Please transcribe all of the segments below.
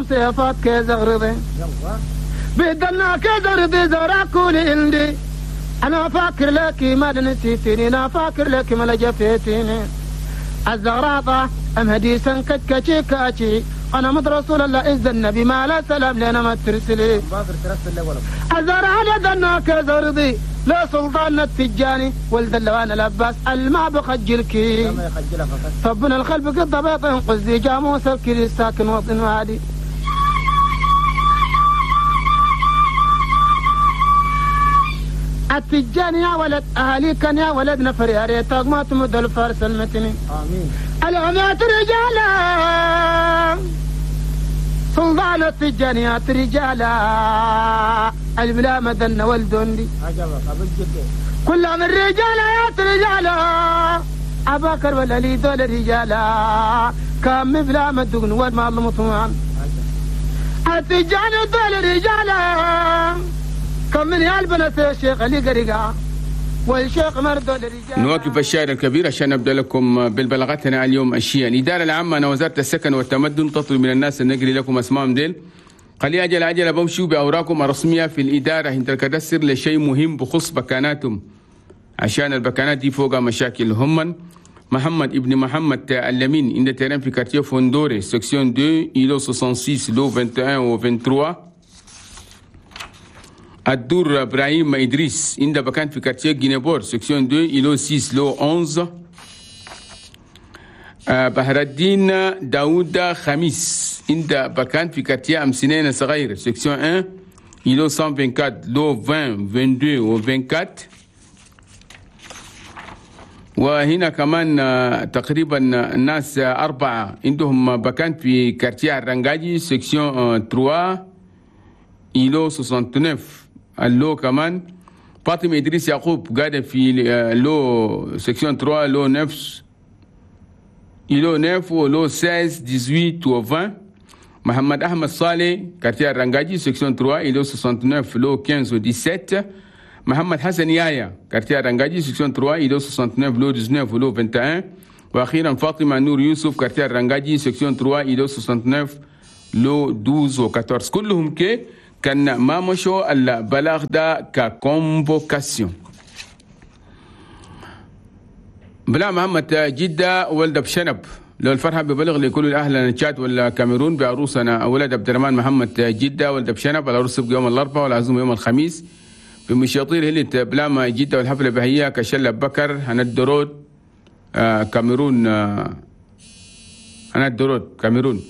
سيفات كزغرضي بدنا كزغرضي زراكولي عندي انا فاكر لك ما نسيتني انا فاكر لك ما لجفيتني الزغراطة ام هديسا كتكتشي كاتشي انا مد رسول الله إذ النبي ما لا سلام لنا ما ترسلي الزرع لدنا كزرضي لا سلطان التجاني ولد اللوان الأباس الما بخجلكي طبنا الخلف قد بيط قزي جاموس الكري ساكن وطن وادي التجاني يا ولد أهلي كان يا ولد نفر يا ريتك ما تمد الفارس المتني آمين العمات رجالا سلطان التجانيات رجالا البلا مدن والدندي كل من رجالات رجالا أبا ولا لي دول رجالا كم بلا مدن والما المطمئن التجاني دول رجالا كم من يالبنة الشيخ اللي قريقا والشيخ مردو للرجال. نواكب الشاعر الكبير عشان نبدا لكم بالبلاغتنا اليوم الشيء. الادارة العامة وزارة السكن والتمدن تطلب من الناس ان نجري لكم اسمائهم ديل. قال عجل عجل بمشوا باوراقكم الرسمية في الادارة انت الكدسر لشيء مهم بخص بكاناتهم عشان البكانات دي فوق مشاكل. هم محمد ابن محمد اللمين عند terrain في quartier فوندوري section 2 îlot 66 lot 21 و 23. الدور ابراهيم ادريس عند بكان في quartier جينيبور section 2 îlot 6 lot 11. بحر الدين داوود خميس عند بكان في quartier امسنين صغير section 1 îlot 124 lot 20 22 و 24. وهنا كمان تقريبا الناس أربعة عندهم بكان في quartier الرنجاجي section 3 îlot 69 ال lot كمان. فاطمة إدريس يعقوب قاعدة في lot section 3 lot 9 îlot 9 و lot 16 18 و 20. محمد أحمد صالح quartier الرنجاجي section 3 îlot 69 lot 15 و 17. محمد حسن يايا quartier الرنجاجي section 3 îlot 69 lot 19 و lot 21. وأخيرا فاطمة نور يوسف quartier الرنجاجي section 3 îlot 69 lot 12 و 14. كلهم كي كان ما مشوا البلاغ ده ك convocation. بلا محمد جدة ولد بشنب لو الفرحة ببلغ لكل الأهل تشاد ولا كاميرون بعروسنا ولد عبد الرحمن محمد جدة ولد بشنب. العروس تبقى يوم الأربعاء والعزومة يوم الخميس في مشاطير هلت بلاما جدة والحفلة بهية كشلة بكر هندرود كاميرون هندرود كاميرون.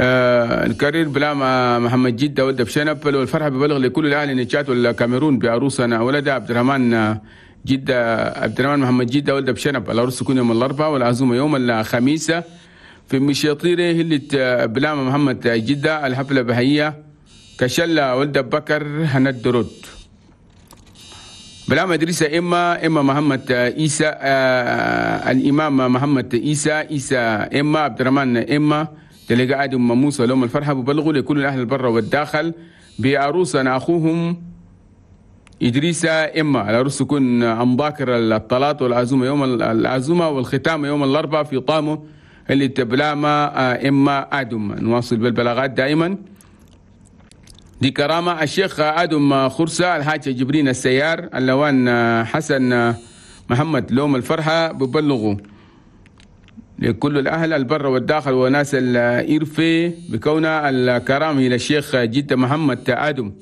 الكارير بلا محمد جدة ولد بشنب لو الفرحة ببلغ لكل الأهل نتشات ولا كاميرون بعروسنا ولد عبد الرحمن جدة عبد الرحمن محمد جدة ولد بشنب. العروس تكون يوم الأربعاء والعزومة يوم الخميس في مشاطيره هلت بلاما محمد جدة الحفلة بهية كشلة ولد بكر هندرود. بلا مدرسة إما محمد إيسى الإمام محمد إيسى إيسى إما عبد الرحمن إما تلقى آدم موسى لهم الفرحة ببلغوا لكل الأهل البر والداخل بعروسنا أخوهم إدريس إما. العروس تكون أم باكر الطلاط والعزومة يوم العزومة والختام يوم الأربعاء في طامو اللي تبلاما إما آدم. نواصل بالبلاغات دائما. دي كرامة الشيخ آدم خرسة الحاج جبرين السيار اللوان حسن محمد لوم الفرحة ببلغوا لكل الأهل البر والداخل وناس الإرفي بكون الكرامة إلى الشيخ جدة محمد آدم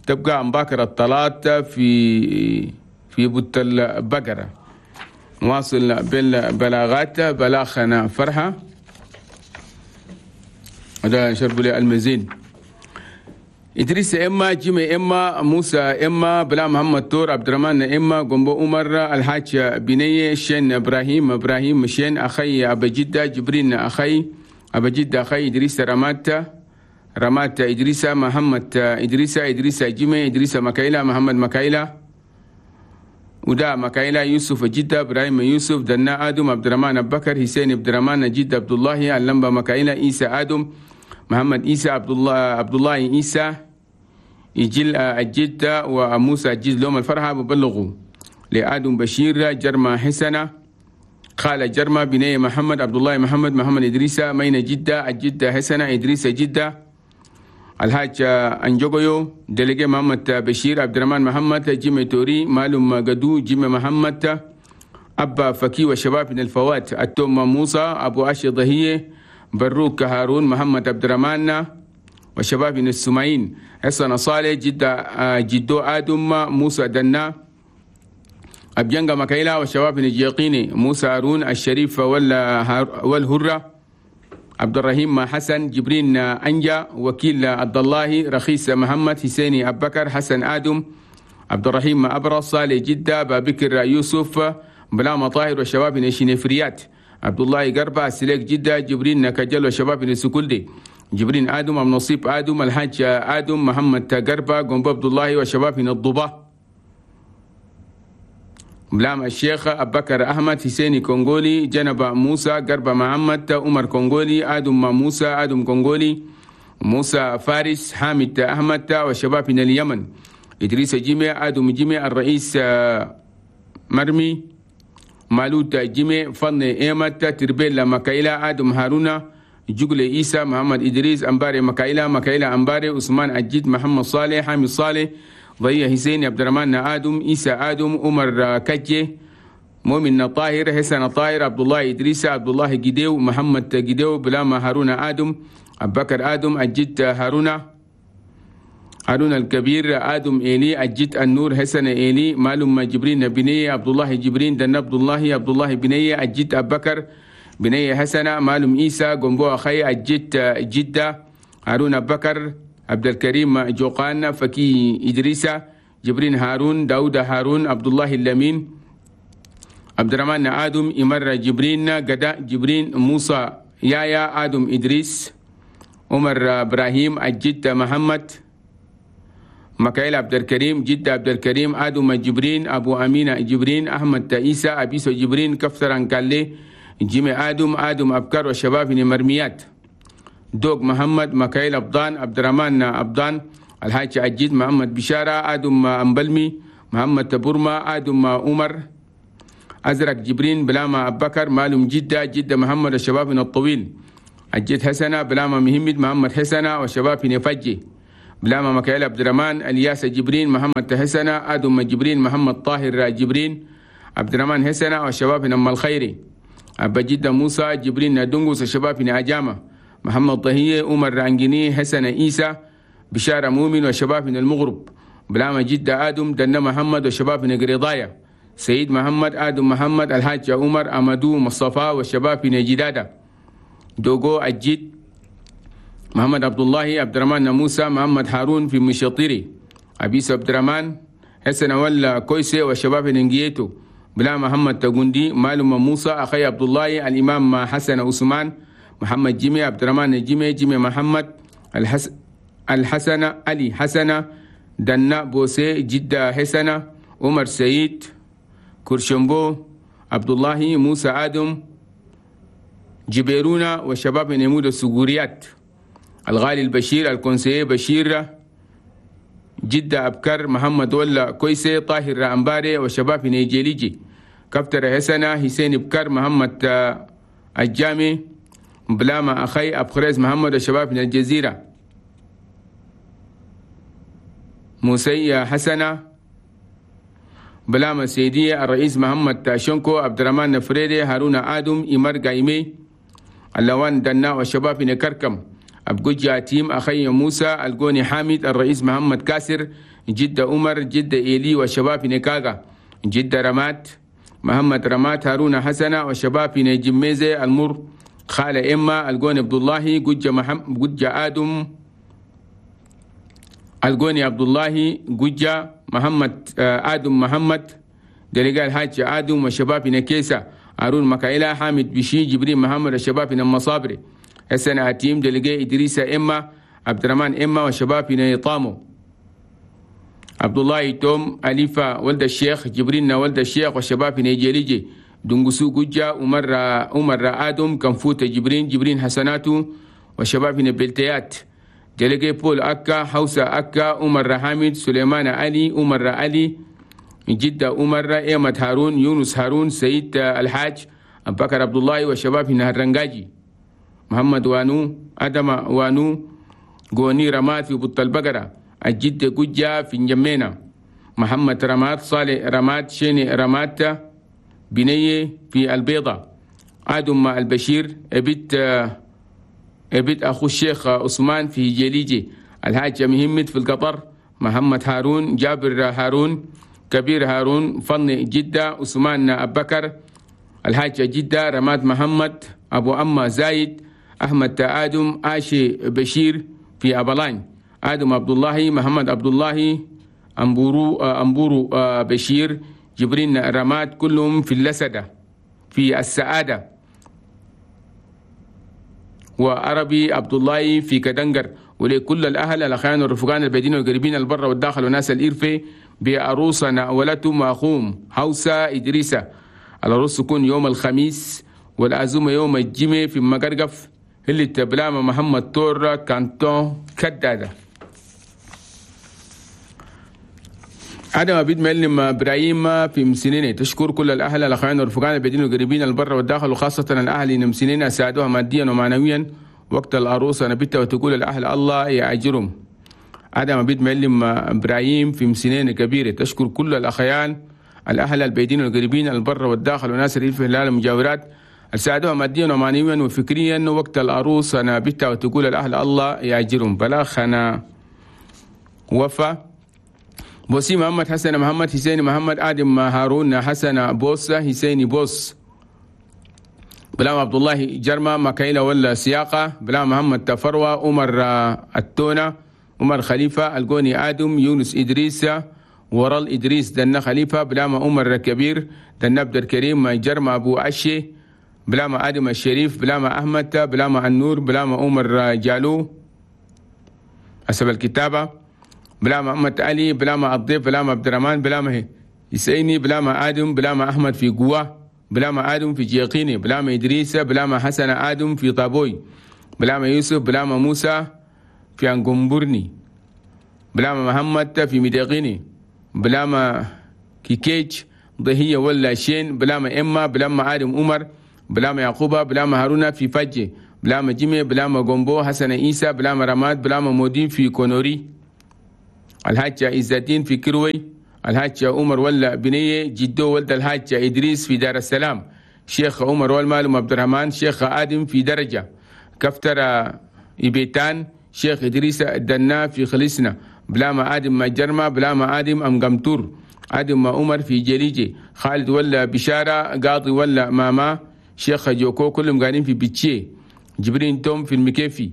تبقى مباكر الطلات في بوت البقرة. نواصل بالبلاغات. بلاغنا فرحة هذا شرب لي المزيد. إدريس إما جيمي إما موسى إما بلا محمد تور عبد الرحمن إما قنبو عمر الحاج بنية شين إبراهيم إبراهيم شين أخي أبا جدة جبرين أخي أبا جدة أخي إدريس رمات رمات إدريس محمد إدريس إدريس جيمي إدريس مكايلة محمد مكايلة ودا مكايلة يوسف جدة إبراهيم يوسف دنا آدم عبد الرحمن أبو بكر حسين عبد الرحمن جدة عبد الله اللمبة مكايلة إيسى آدم محمد إيسى عبد الله إيسى يجل الجدة وموسى الجد لهم الفرحة ببلغوا لآدم بشير جرما حسنة خالة جرمة بنية محمد عبد الله محمد محمد إدريسة مينة جدة الجدة حسنة إدريسة جدة الحاج أنجوغيو دلقي محمد بشير عبد الرحمن محمد جيمي توري مالوم قدو جيمي محمد أبا فكي وشباب من الفوات التوم موسى أبو أشي ضهية بروك هارون محمد عبد الرحمن وشباب من السمعين حسن صالح جدة جدو آدم موسى دنا أبيانغا مكايلا وشباب من الجيقيني موسى هارون الشريف والهرة عبد الرحيم حسن جبرين أنجا وكيل عبد الله رخيص محمد حسيني أبكر حسن آدم عبد الرحيم أبرص صالح جدة بابكر يوسف بلا مطاهر وشباب من الشنفريات عبد الله قربة سليك جدة جبرين كجل وشباب من السكولدي جبرين آدم أم نصيب آدم الحاج آدم محمد قربة قنب عبد الله وشباب من الضبة بلام الشيخ أبكر أحمد حسيني كونغولي جنب موسى قربة محمد عمر كونغولي آدم موسى آدم كونغولي موسى فارس حامد أحمد وشباب من اليمن إدريس جيمي آدم جيمي الرئيس مرمي مالوت جيمي فن إيمت تربيلا مكايلا آدم هارونا جوجل إيسا محمد إدريس أمباري مكايلا مكايلا أمباري عثمان أجيد محمد صالح حامد صالح ضيا حسين عبد الرحمن آدم إيسا آدم عمر كجي مؤمن طاهر حسن طاهر عبد الله إدريس عبد الله جديو محمد جديو بلاما هارون آدم أبو بكر آدم الجد هارون هارون الكبير آدم إيلي الجد النور حسن إيلي معلوم جبرين بنية عبد الله جبرين دن عبد الله عبد الله بنية الجد أبو بكر بنية حسنة معلوم إيسى جنبو أخي الجد جدة هارون أبو بكر عبد الكريم جوقان فكي إدريسة جبرين هارون داود هارون عبد الله اللمين عبد الرحمن آدم إمر جبرين قداء جبرين موسى يايا آدم إدريس عمر إبراهيم الجد محمد مكايل عبد الكريم جد عبد الكريم آدم جبرين أبو أمينة جبرين أحمد عيسى أبيسو جبرين كفتران كالي جيمي آدم آدم أبكر وشباب مرميات دوق محمد مكايل أبضان عبد الرحمن أبضان الحاج عجيد محمد بشارة آدم أمبلمي محمد تبورما آدم عمر أزرق جبرين بلاما أبكر مالوم جدة جدة محمد الشباب من الطويل الجد حسنة بلاما مهمد محمد حسنة وشباب نفجي بلاما مكايل عبد الرحمن الياس جبرين محمد حسنة آدم جبرين محمد طاهر جبرين عبد الرحمن حسنة وشباب أم الخيري أبا جدة موسى جبرين دونغوس الشباب أجامة محمد طهية عمر رانجيني حسن عيسى بشارة مؤمن وشباب من المغرب بلاما جدة آدم دنا محمد وشباب من قريضايا سيد محمد آدم محمد الحاج عمر أمدو مصطفى والشباب من جدادة دوغو الجد محمد عبد الله عبد الرحمن موسى محمد هارون في مشاطيري أبيس عبد الرحمن حسن ولا كويسي والشباب نجيتو بلا محمد تغندي معلوم موسى أخي عبد الله الإمام حسن عثمان محمد جيمي عبد الرحمن جيمي جيمي محمد الحسن علي حسن دنا بوسي جدة حسنة عمر سعيد كرشمبو عبد الله موسى آدم جبيرونا وشباب نمود السجوريات الغالي البشير الكونسيه بشير جدة أبكر محمد ولا كويسي طاهر أمباري وشباب نيجيليجي كفتر حسنة حسين بكر محمد الجامي بلاما أخي أبخريز محمد وشباب من الجزيرة موسي حسنة بلاما سيدية الرئيس محمد شنكو عبد الرحمن نفريدي هارون آدم إمر قايمي اللوان دنا وشباب نكركم أبجوجي تيم أخي موسى الجوني حامد الرئيس محمد كاسر جدة عمر جدة إيلي وشباب نكاغا جدة رمات محمد رمات هارون حسنة وشباب نجميزي المر خالة إما الجوني عبد الله جوجة محمد جوجة آدم الجوني عبد الله جوجة محمد آدم محمد دلقاء الحاج آدم وشباب نكيسة هارون مكايلا حامد بشي جبريل محمد الشباب المصابري حسن عتيم دلقاء إدريس إما عبد الرحمن إما وشباب نيطامو عبد الله توم أليفا ولد الشيخ جبريل ولد الشيخ وشباب نيجيريجي دنقسو جوجا عمر آدم كنفوت جبرين جبرين حسناتو وشباب نبلتيات دلقاء بول أكا حوسة أكا عمر حامد سليمان علي عمر علي جدة عمر إيمة هارون يونس هارون سيد الحاج أبكر عبد الله والشباب هنا الرنجاجي، محمد وانو، أدم وانو، غوني رماد في بط البقرة، الجد جوجا في نجمينا، محمد رماد، صالح رماد، شيني رماد، بنية في البيضة، آدم البشير ابيت أخو الشيخ عثمان في جليجي، الحاج مهمت في القطر، محمد هارون، جابر هارون، كبير هارون، فن جدة، عثمان أبكر، الحاج جدة، رماد محمد، أبو أما زايد، أحمد آدم، آشي بشير في أبلان، آدم عبد الله، محمد عبد الله، أمبورو بشير، جبرين رماد، كلهم في اللسدة في السعادة، وعربي عبد الله في كدنجر. ولكل الأهل الأخيان والرفقان البعيدين والقريبين البر والداخل وناس الإرفي بعروسنا ولتم وأخوهم هوسة إدريسة. العروس تكون يوم الخميس والعزومة يوم الجمعة في مقرقف اللي تبلام محمد تورا كانتون كدادة. آدم أبيد معلم إبراهيم في مسنينة تشكر كل الأهل الأخوان والرفقان البعيدين والقريبين البر والداخل وخاصة الأهل مسنينة ساعدوها ماديا ومعنويا وقت العروسة نبتة، وتقول الأهل الله يأجرهم. آدم أبيد معلم إبراهيم في مسنينة كبيرة تشكر كل الأخيان الأهل البعيدين والقريبين البر والداخل وناس الريف الهلال المجاورات ساعدوها ماديا ومعنويا وفكريا وقت العروسة نبتة، وتقول الأهل الله يأجرهم. بلاخنا وفا بوسي محمد حسن محمد حسين محمد آدم هارون حسن بوس حسين بوس، بلام عبد الله جرمة مكايلة ولا سياقة، بلام محمد تفروة، عمر التونة، عمر خليفة، القوني آدم، يونس إدريس، ورال إدريس دنا خليفة، بلام عمر كبير دنا عبد الكريم جرمة أبو أشي، بلام آدم الشريف، بلام أحمد، بلام النور، بلام عمر جالو حسب الكتابة، بلا محمد علي، بلا ما الضيف، بلا ما عبد الرحمن، بلا ما يسيني، بلا ما آدم، بلا ما أحمد في قوة، بلا ما آدم في جيقيني، بلا ما إدريس، بلا ما حسن آدم في طابوي، بلا ما يوسف، بلا ما موسى في أنقنبرني، بلا ما محمد في مديقيني، بلا ما كيكيج ضهية ولا شين، بلا ما إما، بلا ما آدم عمر، بلا ما يعقوبة، بلا ما هارون في فجي، بلا ما جيمي، بلا ما قنبو حسن إيسى، بلا ما رماد، بلا ما مودين في كونوري، الحاج عزتين في كروي، الحاج عمر ولا بنية جدو ولد الحاج إدريس في دار السلام، شيخ عمر والمالم عبد الرحمن، شيخ آدم في درجة كفتر إبيتان، شيخ إدريس دنا في خليسنا، بلا ما آدم ما جرمة، بلا ما آدم أم قمتور، آدم ما عمر في جليجي، خالد ولا بشارة، قاضي ولا ماما، شيخ جوكو كلهم قاعدين في بيتشي، جبرين توم في المكيفي،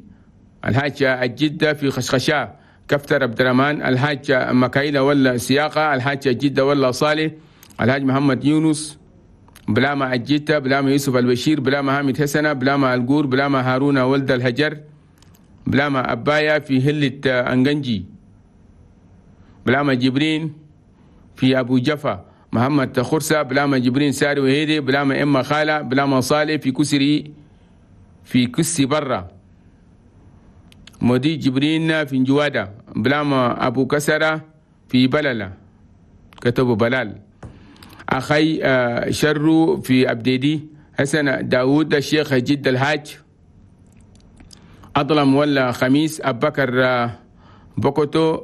الحاج الجدة في خشخشة، كفتر عبد الرحمن، الحاج مكايلة ولا سياقة، الحاج جدة ولا صالح، الحاج محمد يونس، بلا ما الجدة، بلا ما يوسف البشير، بلا ما حامد حسنة، بلا ما القور، بلا ما هارون ولد الهجر، بلا ما أبايا في هلة أنجنجي، بلا ما جبرين في أبو جفا، محمد خرسة، بلا ما جبرين ساري وهيدي، بلا ما إما خالة، بلا ما صالح في كسري في كسي برا، مودي جبرين في جوادة، بلا ما أبو كسرة في بلالة كتبوا بلال، أخي شرو في أبديدي، حسن داود الشيخ جد الحاج، أظلم ولا خميس، أبكر بوكوتو،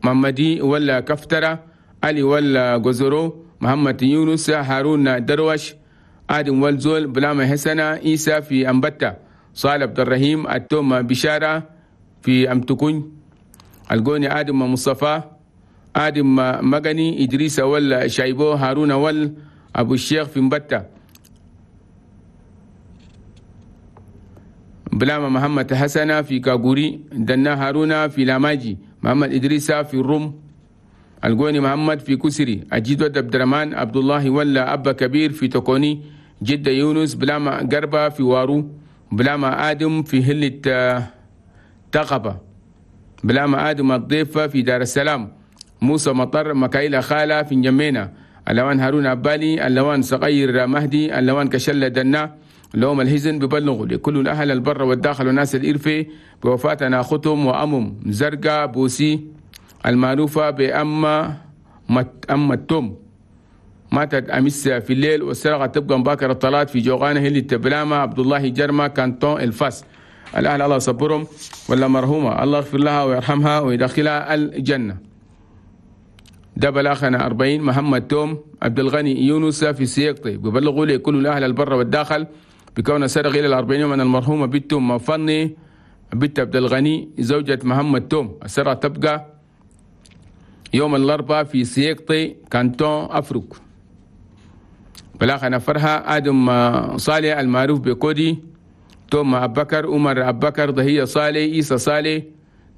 محمدي ولا كفترة، علي ولا جزرو، محمد يونس، هارون دروش، آدم والزول، بلاما حسنة، عيسى في أمبتة، صالح عبد الرحيم، التوم بشارة في أمتكون، القوني آدم مصطفى، آدم مغني، إدريس ولا شايبو، هارون ول أبو الشيخ في مبتة، بلاما محمد حسنة في كاغوري، دنا هارون في لاماجي، محمد إدريس في الروم، القوني محمد في كسري، أجيد عبد الرحمن، عبد الله ولا أبا كبير في تكوني، جدة يونس، بلاما قربة في وارو، بلاما آدم في هلة تقبة، بلاما آدم الضيفة في دار السلام، موسى مطر، مكايلة خالة في نجمينة، اللوان هارون عبالي، اللوان صغير مهدي، اللوان كشلة دنا، لهم الهزن ببلغوا لكل الأهل البر والداخل وناس الإرفي بوفاتنا ختم وأمم زرقاء بوسي المعروفة بأما أم التوم ماتت أمس في الليل، والسرقة تبقى مباكر الطلات في جوغانة هلي تبلامة عبد الله جرمة كانتون الفاس. الأهل الله صبرهم ولا مرحومة الله يغفر لها ويرحمها ويدخلها الجنة. ده بلاغنا 40 محمد توم عبد الغني يونس في سيقطي ببلغوا لي كل الأهل البر والداخل بكون سرق إلى 40 يوم من المرحومة بنت مفني بنت عبد الغني زوجة محمد توم. السرقة تبقى يوم الأربعاء في سيقطي كانتون أفريق. بلاغنا فرها آدم صالح المعروف بكودي توم أبكر عمر أبكر ضهية صالح إيسى صالح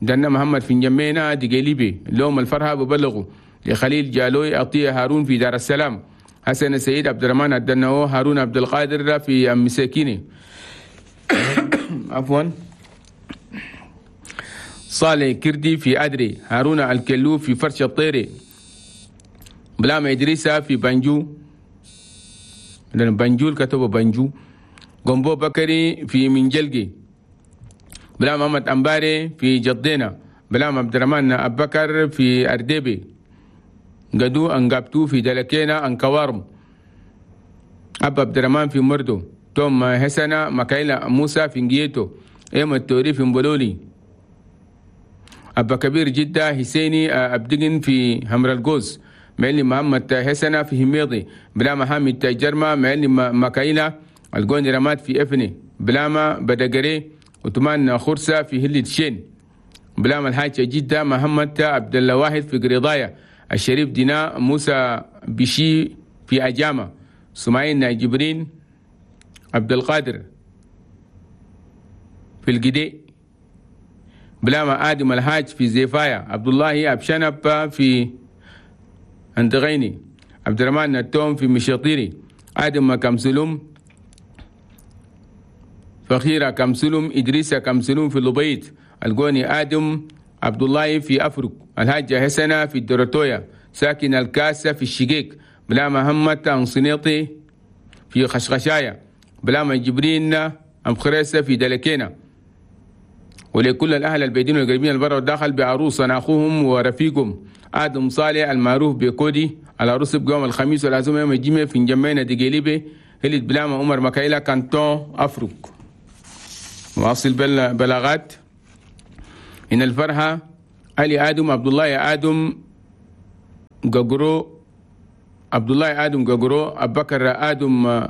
دنا محمد في جمينا دقيليبي لوم الفرحة ببلغوا لخليل جالوي عطية هارون في دار السلام حسن سيد عبد الرحمن الدنو هارون عبد القادر في مساكيني عفوا صالح كردي في أدري هارون الكلو في فرش الطيري بلام إدريسة في بنجو لأن بنجول كتبوا بنجو قنبو بكري في منجلقي بلام محمد أمباري في جدينا بلام عبد الرحمن أبكر في أردبي قدو أنقابتو في دلكينا أنكوارم أبا عبد الرحمن في مردو توم حسنة مكايلا موسى في نجيتو إيما التوري في مبلولي أبا كبير جدة حسيني أبدقن في همر الجوز معلم محمد حسنة في هميضي بلاما حامد جرمة معلم مكايلا الجون رمات في إفني بلاما بدقري وتمان خرسة في هلة شين بلاما الحاج جدة محمد عبد الواحد في قريضايا الشريف دينا موسى بشي في أجامة سمعين جبرين عبد القادر في القدي بلاما آدم الحاج في زيفايا عبد الله أبشنب في أندغيني عبد الرحمن التوم في مشاطيري آدم كمسلوم فخيرة كمسلوم إدريس كمسلوم في اللبيت الجوني آدم عبد الله في أفرق الحاجة حسنة في الدرتويا ساكن الكاسة في الشقيق بلا محمد أنصنيطي في خشخشايا بلا جبرين أم خريسة في دلكينا. ولكل الأهل البيدين والقريبين البر والداخل بعروس أخوهم ورفيقهم آدم صالح المعروف بكودي العروس بيوم الخميس والعزومة يوم الجمعة في جمعنا دقيليبي هلت بلاما عمر مكايلا كانتون أفرق. واصل بلاغات إن الفرحة علي آدم عبد الله آدم ققرو عبد الله آدم ققرو أبكر آدم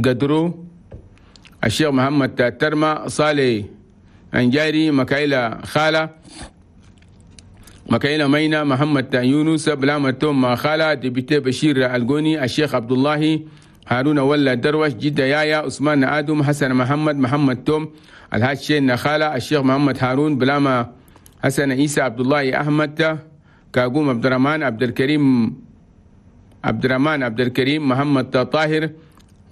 قدرو الشيخ محمد ترمى صالح أنجاري مكايلا خالة مكايلا مينا محمد يونس بلامة توم خالة دبيتي بشير الجوني الشيخ عبد الله هارون ولا دروش جدة يايا عثمان آدم حسن محمد محمد توم الحاج شين خالة الشيخ محمد هارون بلاما حسن عيسى عبد الله أحمد كاقوم عبد الرحمن عبد الكريم عبد الرحمن عبد الكريم محمد طاهر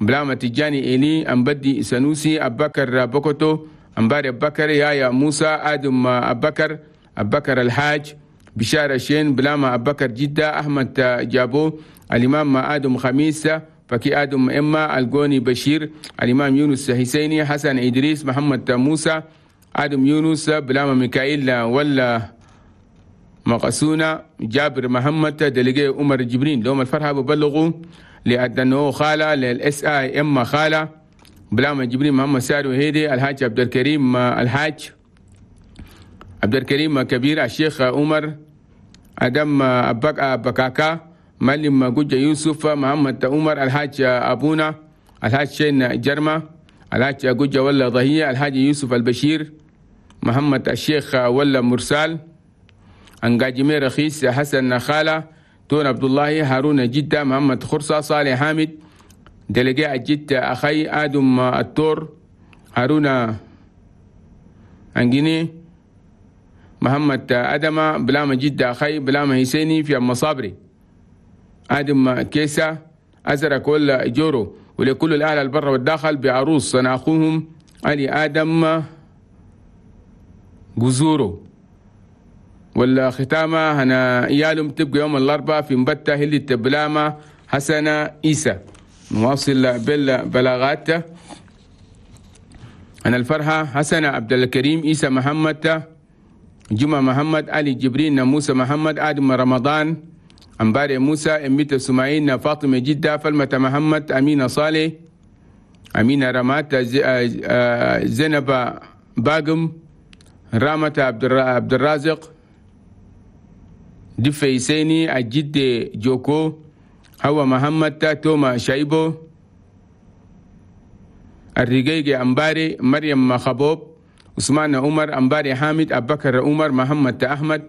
بلاما تجاني إلي أمبدي سنوسي أبكر بوكوتو أمباري أبكر يايا موسى آدم أبكر أبكر الحاج بشارة شين بلاما أبكر جدة أحمد جابو الإمام آدم خميس فكي آدم إما الجوني بشير الإمام يونس حسيني حسن إدريس محمد موسى آدم يونس بلاما ميكائيل ولا مقسونة جابر محمد دلقي عمر جبرين لهم الفرحة ببلغوا لأدنو خالة للإس آي إما خالة بلاما جبرين محمد ساري وهيدي الحاج عبد الكريم الحاج عبد الكريم كبير الشيخ عمر أدم أبكاكا معلم جوجة يوسف محمد عمر الحاج أبونا الحاج شين جرمة الحاج جوجة ولا ضهية الحاج يوسف البشير محمد الشيخ ولا مرسال أنجاجمي رخيص حسن خالة تون عبد الله هارون جدة محمد خرصة صالح حامد دلقاء جدة أخي آدم التور هارون أنجيني محمد أدمة بلامة جدة أخي بلامة حسيني في المصابري آدم كيسة أزرق ولا جورو. ولكل الأهل البر والداخل بعروس أخوهم علي آدم جزورو. والختامة هنا يالم تبقى يوم الأربعاء في مبتة هلي تبلامة حسنة إيسى. نواصل بالبلاغات. أنا الفرحة حسنة عبد الكريم إيسى محمد جمعة محمد علي جبرين موسى محمد آدم رمضان أمباري موسى، أميت سماعين، فاطمة جدة، فلمة محمد، أمينة صالح، أمينة رمات، زينب باقم، رامة عبد الرازق، دفي سيني، الجد جوكو، هو محمد، توما شايبو، الرقيق أمباري، مريم خبوب، عثمان عمر، أمباري حامد، أبو بكر عمر، محمد أحمد،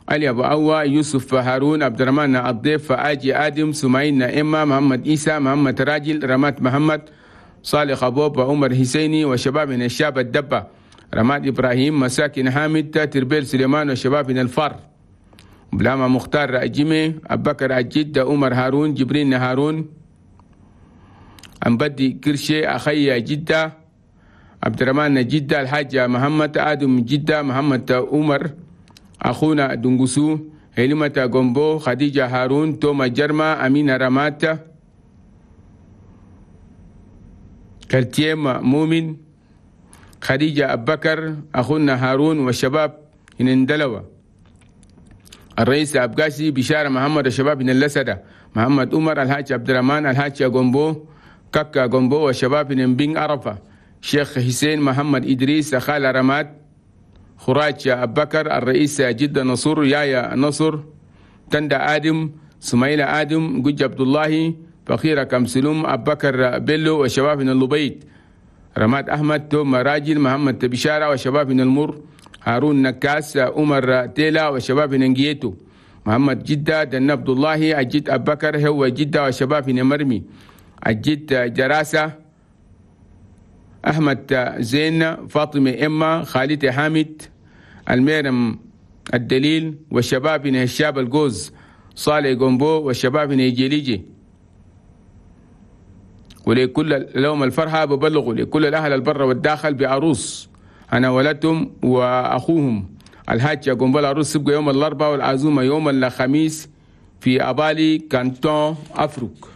علي أبو أوا، يوسف هارون، عبد الرحمن الضيف، آجي آدم، سمعين إما، محمد إيسى، محمد راجل، رمات محمد، صالح خبوب، وعمر حسيني، وشباب من الشاب الدبة، رماد إبراهيم، مساكن حامد، تربيل سليمان، وشباب من الفار، بلاما مختار أجمي، أبو بكر الجد، عمر هارون، جبرين هارون، أمبدي كرشي، أخي جدة، عبد الرحمن جدة، الحاج محمد آدم جدة، محمد عمر، أخونا دنقسو، هلمة غومبو، خديجة هارون، توما جرما، أمينة رمات، كرتيم مؤمن، خديجة أبكر، أخونا هارون، والشباب هنندلوة، الرئيس أبقاسي، بشارة محمد، الشباب من اللسدة، محمد عمر، الحاج عبد الرحمن، الحاج غومبو، كاكا غومبو، والشباب من بين عرفة، شيخ حسين محمد إدريس، خالة رماد، خراج أبكر، الرئيس جدة نصر، يايا نصر، تندى آدم، سميلة آدم، جوج عبد الله، فخيرة كمسلوم، أبكر بيلو، وشباب من اللبيت، رماد أحمد، توم راجل، محمد بشارة، وشباب من المر، هارون نكاس، عمر تيلا، وشباب من نجيتو، محمد جدة، دن عبد الله، الجد أبكر، هو جدة، وشباب من مرمي، الجد جراسة، أحمد زين، فاطمة إما، خالد حامد، الميرم الدليل، والشباب من الشاب الجوز، صالح جومبو، والشباب من جيليجي. ولكل لهم الفرحة ببلغوا لكل الأهل البر والداخل بعروس أنا ولدتهم وأخوهم الحاج جومبو. العروس تبقى يوم الأربعاء والعزومة يوم الخميس في أبالي كانتون أفروك.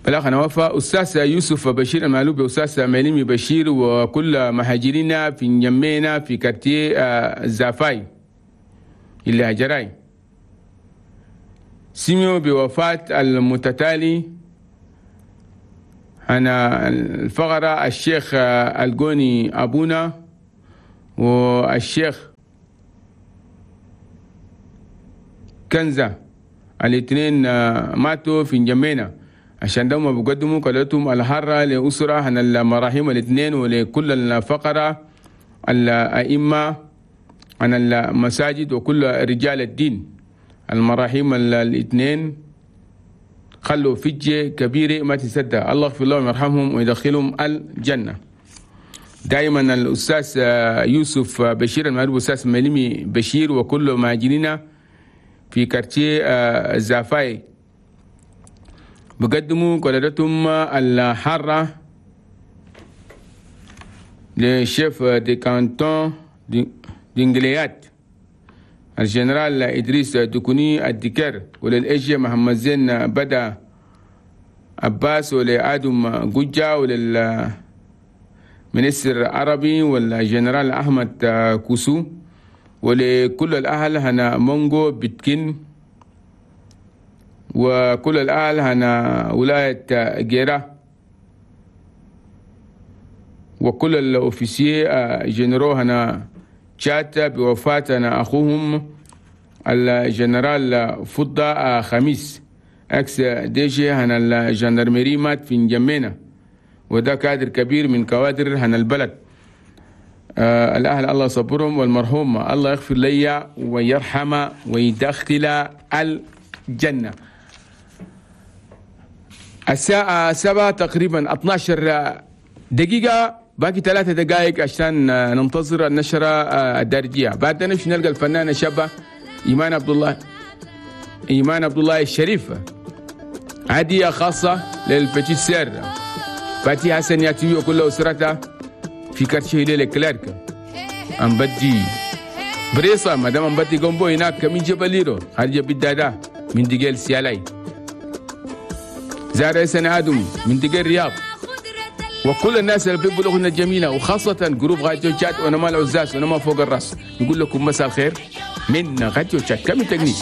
بالآخر وفاء أستاذ يوسف بشير المعلوب، أستاذ مليمي بشير، وكل مهاجرين في نجمينا في كارتيه زافاي اللي هجراي سمعوا بوفاة المتتالي أنا الفقرة الشيخ الجوني أبونا والشيخ كنزة، الاثنين ماتوا في نجمينا. عشان ده ما بيقدموا قالتهم الحارة لأسرة عن المراحيم الاثنين ولكل الفقرة الأئمة عن المساجد وكل رجال الدين. المراحيم الاثنين خلوا فجة كبيرة ما تصدق. الله يغفر لهم ويرحمهم ويدخلهم الجنة. دائما الأستاذ يوسف بشير المعروف أستاذ مليمي بشير وكل مهاجرين في كارتيه زافاي بقدموا قلادتهم الحارة ل chef de canton دينجليات الجنرال إدريس دكوني الدكر، وللإجي محمد زين بدا عباس، ولآدم جوجا، ولل ministre عربي، والجنرال أحمد كوسو، ولكل الأهل هنا مونغو بتكين، وكل الأهل هنا ولاية جيرة، وكل ال officiers généraux هنا تشات بوفاة أخوهم الجنرال فضة خميس ex DG هنا ال gendarmerie مات في نجمينا، وده كادر كبير من كوادر هنا البلد. الأهل الله صبرهم، والمرحوم الله يغفر لي ويرحم ويدخل الجنة. الساعة 7 تقريبا 12 دقيقة، باقي 3 دقائق عشان ننتظر النشرة الدارجية. بعد نمشي نلقى الفنانة الشابة إيمان عبد الله، إيمان عبد الله الشريف، هدية خاصة لل petite sœur فاتي حسن ياتي وكل أسرتها في quartier لكلارك. أم بدي بريصة مدام أم بدي جنبو هناك من جبل ليرو خارج بالدادا من دقيل سيالاي زارع سنة آدم من دقيل الرياض، وكل الناس اللي بيحبوا الأغنية الجميلة، وخاصة groupe راديو تشاد ونما العزاز ونما فوق الراس. نقول لكم مساء الخير. من راديو تشاد. كامل تكنيك.